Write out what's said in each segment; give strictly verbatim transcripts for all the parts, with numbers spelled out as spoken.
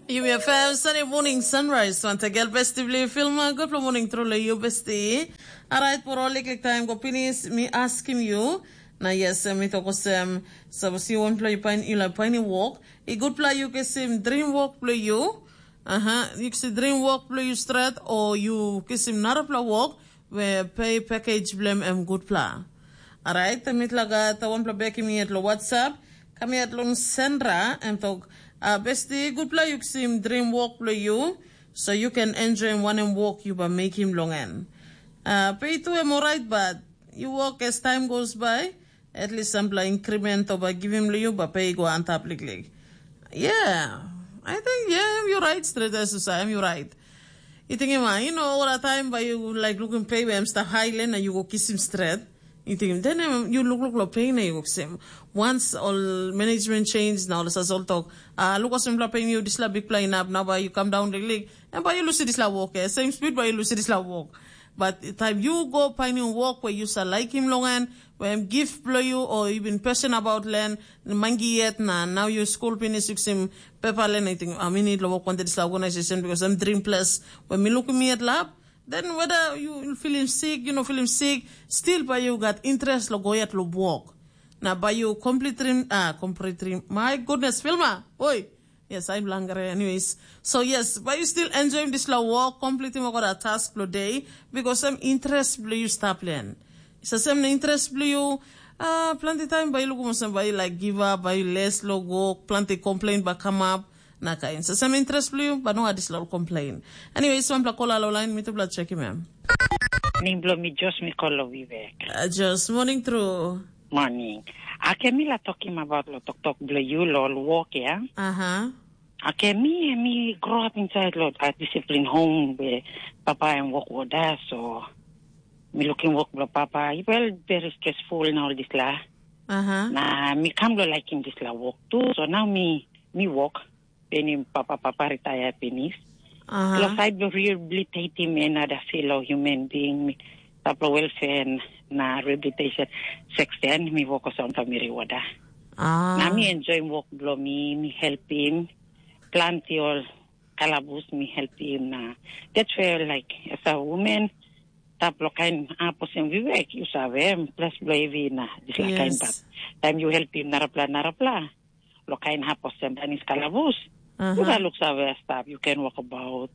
Yumi FM Sunday morning sunrise. Wantagal besti bli filma. Good morning truly you besti. Alright, por all liklik time go pinis. Mi askim you. Na yes, mi toko sem. Sabasi wanpela you pain you like pain walk. I good pla you kisim dream walk bli you. Aha, you kisim dream walk bli you stret or you kisim narapela walk. We pay package blem em good pla. Alright, mi tla gat wanpela bekim yet lo WhatsApp. Kam yet long Sandra em tok. Uh, besti good pla you kisim dream walk bli you. So you can enjoy one and walk you by make him long end. Uh, pay to him alright, but you walk as time goes by. At least sampela increment o bai givim long you bai pe i go antap liklik. Yeah, I think yeah, you're right, straight as you say, you're right. You think, you know, all the time by you like looking pay where I'm stuff high lane and you go kiss him straight. You think then um, you look look lo pain you go same. Once all management change now, let's all talk. Uh, look at some pain you this la big plane up now by you come down the league and by you lose this la walk. Eh? Same speed by you lose this la walk. But time you go finding work where you sa like him long and where him gift blow you or you been passionate about land, mangi yet na now you school finish you sim paper land. I think I mean it work wanted this organization because I'm dream plus when me look me at lab. Then whether you feel him sick, you know, feel him sick, still by you got interest lo go yet lo work. Now by you complete dream, ah, complete dream. My goodness, Filma, oi. Yes, I'm langre anyways. So yes, but you still enjoy this la work, completing work or a task per day because some interest blue you stop learn. It's the same interest blue you uh, plenty time by you look some by you like give up, by you less lo work, plenty complain but come up. Na kain. So some interest blue, but no had this little complain. Anyway, so I'm like call all line, me to blood check him. Ning blo mi Josh mi kolo Vivek. Uh, just morning through. Morning. Ake mi la tokim about lo toktok blo yu lo ol wok ya. Aha. Ake mi mi grow up inside lo a discipline home be papa em wok woda so mi looking work blo papa. I well very stressful na all this la. Aha. Na mi kam lo liking this la work too. So now mi mi work. Penim papa papa retire pinis. Aha. Lo side lo rehabilitating another fellow human being mi taplo welfare na rehabilitation section mi work on family wada. Ah. Na mi enjoy work blo mi, mi help him. Plenty all kalabus mi help him na. That's where like as a woman taplo kain apos em vivek you save em plus blo heavy na this like kain yes. But time you help him narapla narapla. Lo kain hap olsem dan is kalabus. Aha. Uga luk save stap you can walk about.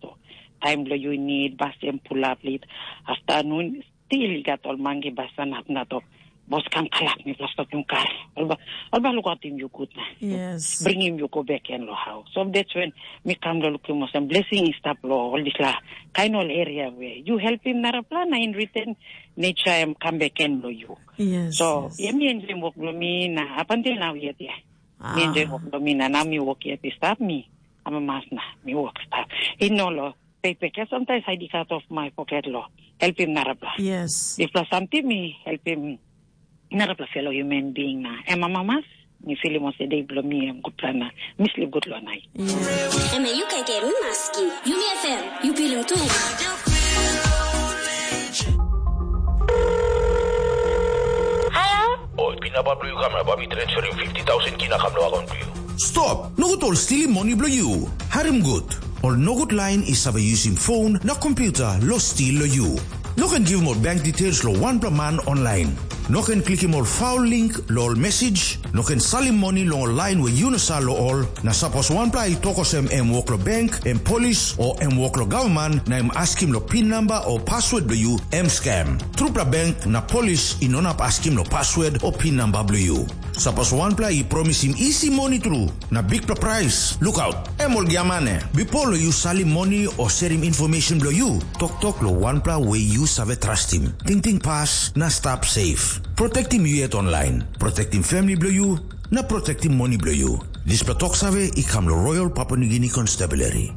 Time lo you need bus em pull up late afternoon still you got all mangi bus and up na tok. Bos kam kalap mi plus stop yung kar. Alba alba look out him you good na. Yes. Bring him you go back and lo how. So that's when mi come lo look him olsem blessing is stap lo all this la kind all area where you help him narapla na in return nature em come back and lo you. Yes. So yes. Yeah, mi enjoy work lo mi na up until now yet yeah. Mi enjoy wok lo mi na nau mi wok yet i stap mi amamas na mi wok stap. I no lo paypek ya sometimes I dig out of my pocket lo helpim narapla. Yes. If lo something mi helpim narapla fellow human being na em amamas mi filim ose day blo mi em gutpla na mi sleep good lo night. Yes. Em e yu kaikai mi maski. Yumi F M, yu pilim tu. Hello? Oi, pina ba blu kam na ba mi transferim fifty thousand kina kam lo akon blu. Stop! Nogut ol stilim moni blo yu. Harim gut. Ol nogut lain i save yusim phone na computer lo stil lo yu. No ken givim ol bank details lo wanpela man online. No ken klikim ol foul link lo ol message. No ken salim moni long ol lain we yu no sa lo ol. Na sapos wanpela i tok olsem em wok lo bank, em polis, o em wok lo gavman, na em askim lo pin namba o password blo yu, em scam. Trupela bank na polis i no inap askim lo password o pin namba blo yu. Sapos wanpela i promisim isi moni tru, na bikpela prais, lukaut, em ol giamane. Bipo lo yu salim moni o serim information blo yu, toktok lo wanpela we yu save trastim. Tingting pas na stap safe. Protektim yu yet online. Protektim family blo yu, na protektim moni blo yu. Dispela tok save i kam lo Royal Papua New Guinea Constabulary.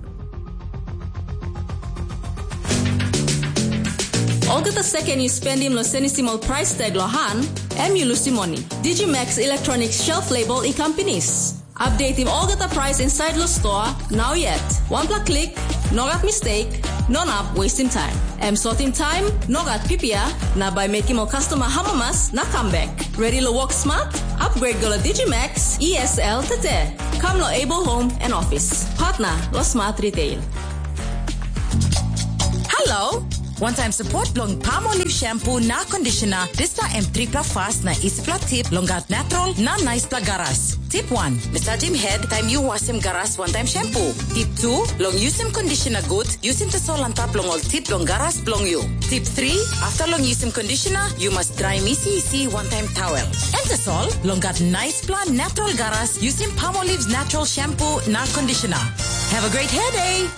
Olgeta seken yu spendim lo senisim ol prais tag lo han, em yu lusim moni. Digimax Electronic Shelf Label i kam pinis. Updatim olgeta prais inside lo store, now yet. Wanpela klik, no gat mistake, no nap wastim time. Em sotim time, no gat pipia, na bai mekim ol customer hamamas na comeback. Ready lo work smart? Upgrade go lo Digimax E S L tete. Kam lo Able Home and Office, partner lo Smart Retail. Hello. Wantaim support bilong Palmolive shampoo na conditioner, dispela em tripela fast na isipela tip long gat natural na naispela garas. Tip wan, massagem head taim yu wasim garas wantaim shampoo. Tip tu, long yusim conditioner gut, yusim tasol antap long ol tip long garas bilong yu. Tip tri, after long yusim conditioner, yu mas draim isi isi wantaim towel. Em tasol, long gat naispela natural garas, yusim Palmolive's natural shampoo na conditioner. Have a great hair day!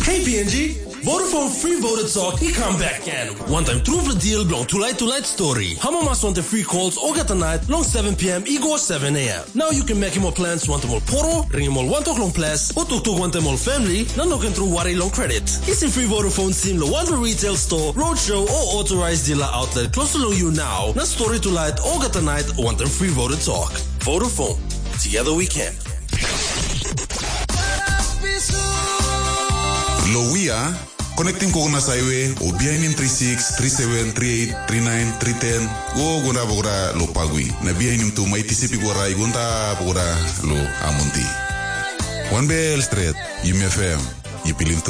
Hey P N G, Vodafone Free Voter Talk i come back again. Wantaim trupela deal bilong tulait tulait story. Hamamas wantaim free calls olgeta nait long seven p.m. i go seven a.m. Now you can make more plans wantaim ol poro, ringim ol wantok long ples, o toktok wantaim ol family, na no ken tru wari long credit. Kisim free Vodafone sim lo wanpela retail store, roadshow, o authorized dealer outlet close to you now. Na story tulait olgeta nait wantaim free Voter Talk. Vodafone. Together we can. Lo Wia, connecting Kokonas Highway o bihainim three six, three seven, three eight, three nine, three ten, go go na bokora lo Pagui. Na bihainim tu mai tisipi gora i gonta bokora lo Amonti. One bell straight, Yumi F M. You believe